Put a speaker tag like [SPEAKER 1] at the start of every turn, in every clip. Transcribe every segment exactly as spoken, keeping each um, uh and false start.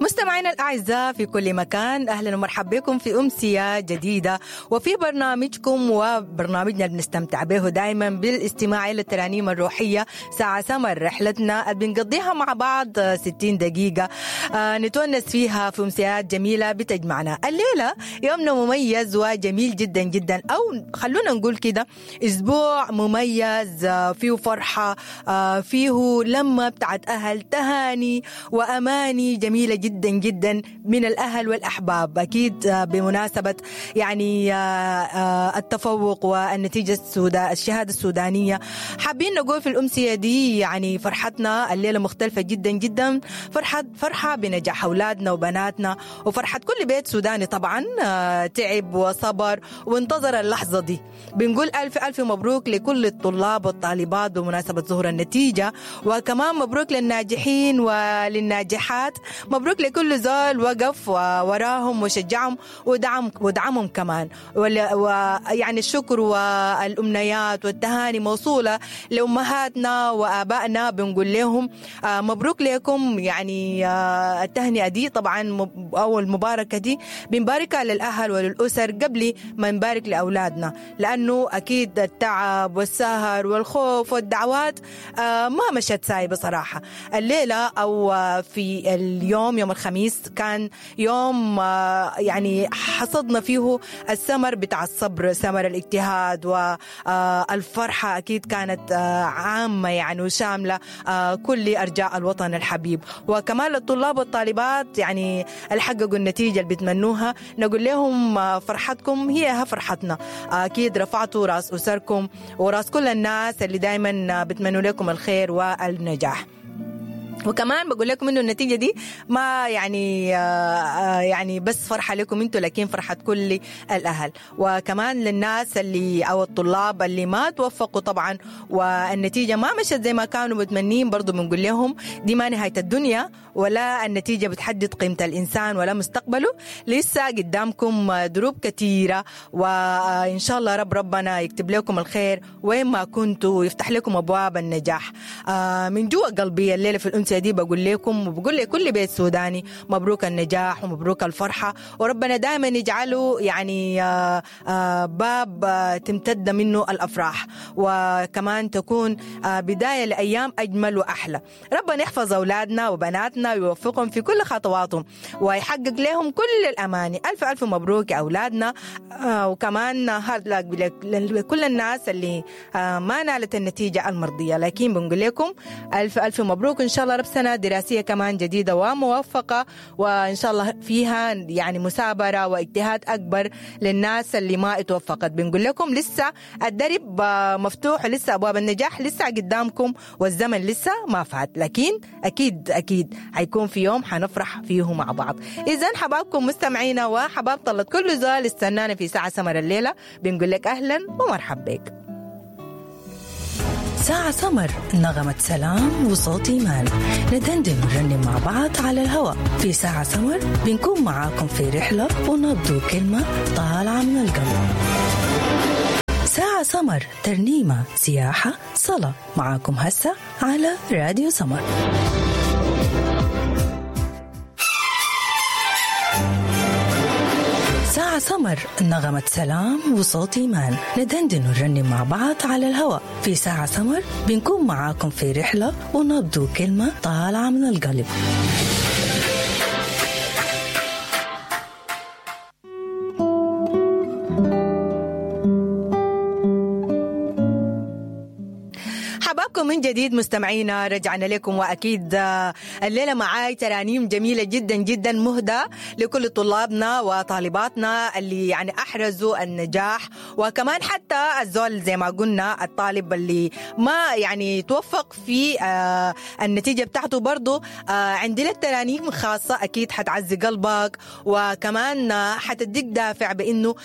[SPEAKER 1] مستمعينا الأعزاء في كل مكان، أهلا ومرحبا بكم في أمسية جديدة وفي برنامجكم وبرنامجنا اللي بنستمتع به دائما بالاستماع إلى الترانيم الروحية ساعة سمر، رحلتنا اللي بنقضيها مع بعض ستين دقيقة نتونس فيها في أمسيات جميلة بتجمعنا. الليلة يومنا مميز وجميل جدا جدا، أو خلونا نقول كده أسبوع مميز فيه فرحة، فيه لمة بتاعت أهل، تهاني وأماني جميلة جدا جدا من الأهل والأحباب، أكيد بمناسبة يعني التفوق والنتيجة السوداء الشهادة السودانية. حابين نقول في الأمسية دي يعني فرحتنا الليلة مختلفة جدا جدا، فرحة فرحة بنجاح أولادنا وبناتنا وفرحة كل بيت سوداني طبعا تعب وصبر وانتظر اللحظة دي. بنقول ألف ألف مبروك لكل الطلاب والطالبات بمناسبة ظهور النتيجة، وكمان مبروك للناجحين وللناجحات، مبروك لكل زول وقف وراهم وشجعهم ودعم ودعمهم كمان، ويعني الشكر والأمنيات والتهاني موصولة لأمهاتنا وآبائنا. بنقول لهم مبروك لكم، يعني التهنئة دي طبعا أو المباركة دي بنباركها للأهل وللأسر قبل ما نبارك لأولادنا، لأنه أكيد التعب والسهر والخوف والدعوات ما مشت ساي بصراحة. الليلة أو في اليوم يوم الخميس كان يوم يعني حصدنا فيه الثمر بتاع الصبر، ثمر الاجتهاد والفرحة أكيد كانت عامة يعني وشاملة كل أرجاء الوطن الحبيب. وكمان للطلاب والطالبات يعني اللي حققوا النتيجة اللي بيتمنوها نقول لهم فرحتكم هي فرحتنا، أكيد رفعتوا راس أسركم وراس كل الناس اللي دايما بتمنوا لكم الخير والنجاح. وكمان بقول لكم انه النتيجة دي ما يعني آه يعني بس فرحه لكم انتم، لكن فرحه كل الاهل. وكمان للناس اللي او الطلاب اللي ما توفقوا طبعا والنتيجة ما مشت زي ما كانوا متمنين، برضو بنقول لهم دي ما نهاية الدنيا، ولا النتيجة بتحدد قيمة الانسان ولا مستقبله، لسه قدامكم دروب كثيرة، وان شاء الله رب ربنا يكتب لكم الخير وين ما كنتوا ويفتح لكم ابواب النجاح. آه من جوا قلبي الليلة في الأمسية دي بقول لكم وبقول لكل بيت سوداني مبروك النجاح ومبروك الفرحة، وربنا دائما يجعله يعني باب تمتد منه الأفراح، وكمان تكون بداية لأيام أجمل وأحلى. ربنا يحفظ أولادنا وبناتنا ويوفقهم في كل خطواتهم ويحقق لهم كل الأماني. ألف ألف مبروك يا أولادنا، وكمان هارد لك لكل الناس اللي ما نالت النتيجة المرضية، لكن بنقول لكم ألف ألف مبروك، إن شاء الله رب سنة دراسية كمان جديدة وموفقة، وإن شاء الله فيها يعني مثابرة واجتهاد أكبر للناس اللي ما اتوفقت. بنقول لكم لسه الدرب مفتوح ولسه أبواب النجاح لسه قدامكم والزمن لسه ما فات، لكن أكيد أكيد حيكون في يوم حنفرح فيه مع بعض. إذن حبابكم مستمعينا وحباب طلت كل زول استنانا في ساعة سمر الليلة، بنقول لك أهلا ومرحبا بك.
[SPEAKER 2] ساعة سمر، نغمة سلام وصوت إيمان، ندندن ونرنم مع بعض على الهواء. في ساعة سمر بنكون معاكم في رحلة ونبدو كلمة طالعة من القلب. ساعة سمر، ترنيمة، سياحة، صلاة، معاكم هسه على راديو سمر. ساعة سمر، نغمة سلام وصوت إيمان، ندندن ونرنم مع بعض على الهواء. في ساعة سمر بنكون معاكم في رحلة ونبدو كلمة طالعة من القلب.
[SPEAKER 1] من جديد مستمعينا رجعنا لكم، واكيد الليلة معاي ترانيم جميلة جدا جدا مهدى لكل طلابنا وطالباتنا اللي يعني احرزوا النجاح، وكمان حتى الزول زي ما قلنا الطالب اللي ما يعني توفق في النتيجة بتاعته، برضو عندي لك ترانيم خاصة اكيد حتعزي قلبك، وكمان حتديك دافع بانه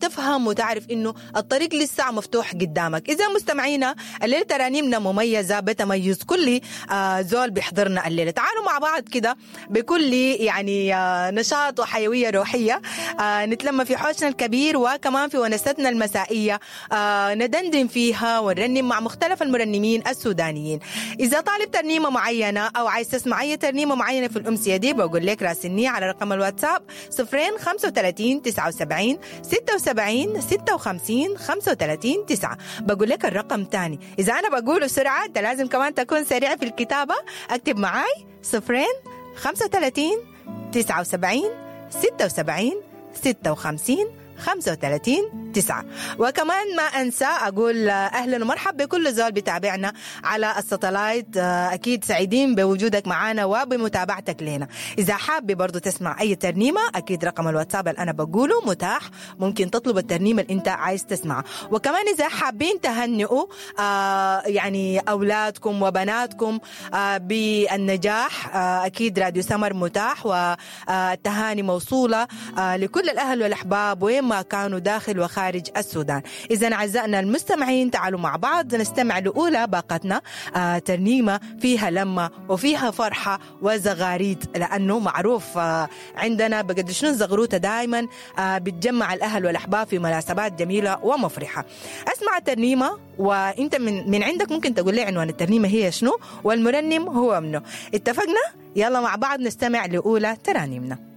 [SPEAKER 1] تفهم وتعرف انه الطريق لسه مفتوح قدامك. اذا مستمعينا الليلة ترانيمنا مميزة مميزة بتميز كل آه زول بيحضرنا الليلة. تعالوا مع بعض كده بكل يعني آه نشاط وحيوية روحية، آه نتلم في حوشنا الكبير وكمان في ونستنا المسائية، آه ندندن فيها ونرنم مع مختلف المرنمين السودانيين. إذا طالب ترنيمة معينة أو عايز تسمع أي ترنيمة معينة في الأمسية دي، بقول لك راسلني على رقم الواتساب صفرين خمسة وثلاثين تسعة وسبعين ستة وسبعين ستة وخمسين خمسة وثلاثين تسعة. بقول لك الرقم تاني، إذا أنا بقوله سرعة أنت لازم كمان تكون سريع في الكتابة. أكتب معاي صفرين خمسة وثلاثين تسعة وسبعين ستة وسبعين ستة وخمسين خمسة وثلاثين تسعة. وكمان ما أنسى أقول أهلا ومرحب بكل زول بتابعنا على الساتلايت، أكيد سعيدين بوجودك معنا وبمتابعتك لنا. إذا حابب برضو تسمع أي ترنيمة، أكيد رقم الواتساب اللي أنا بقوله متاح، ممكن تطلب الترنيمة اللي أنت عايز تسمعها. وكمان إذا حابين تهنئوا آه يعني أولادكم وبناتكم آه بالنجاح، آه أكيد راديو سمر متاح، والتهاني موصولة آه لكل الأهل والأحباب وين ما كانوا داخل وخارج السودان. إذا أعزائنا المستمعين تعالوا مع بعض نستمع لأولى باقتنا، آه ترنيمة فيها لمة وفيها فرحة وزغاريد، لأنه معروف آه عندنا بقد شنو الزغروتة دائما آه بتجمع الأهل والأحباب في مناسبات جميلة ومفرحة. أسمع الترنيمة وإنت من, من عندك ممكن تقول لي عنوان الترنيمة هي شنو والمرنم هو منه. اتفقنا؟ يلا مع بعض نستمع لأولى ترانيمنا.